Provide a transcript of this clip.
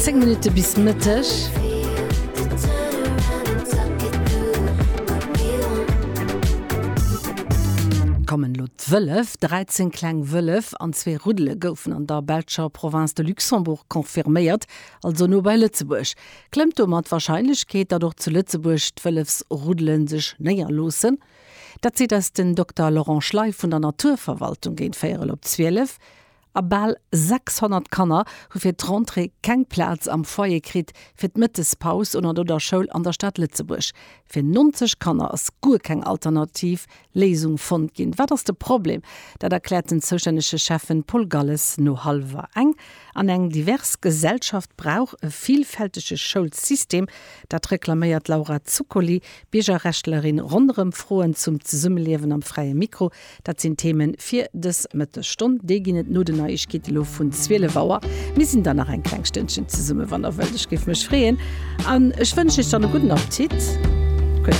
10 Minutte bis Mëtteg. Kommen elo d'Wëllef. 13 kleng Wëllef an zwee Ruddele goufen an der belscher Province de Luxembourg confirméiert, also no bei Lëtzebuerg. Klëmmt domat d'Warscheinlechkeet, datt och zu Lëtzebuerg d'Wëllefsruddele sech néierloossen? Dat seet eis den Dokter Laurent Schley vun der Naturverwaltung géint véierel op 12. A bal 600 Kanner hu fir d'Rentrée keng Plaz am Foyer kritt fir d'Mëttespaus oder no der Schoul an der Stad Lëtzebuerg. Fir 90 Kanner ass guer keng alternativ Léisung fonnt ginn. Wat ass de Problem? Dat erkläert den zoustännege Schäffen Paul Galles no hallwer eng. An eng divers Gesellschaft brauch e villfältege Schoulsystem. Dat reklaméiert d'Laura Zuccoli, Biergerrechtlerin, ronderëm Froen zum Zesummeliewen am Fräie Mikro. Dat sinn d'Theme fir dës Mëttesstonn. Déi ginn et no den Neiegkeete lo vun 12 Auer. Mir sinn dann nach eng kleng Stënnchen zesumme wann der wëllt. Ech géif mech freeën an ech wënschen iech dann e gudden Appetit.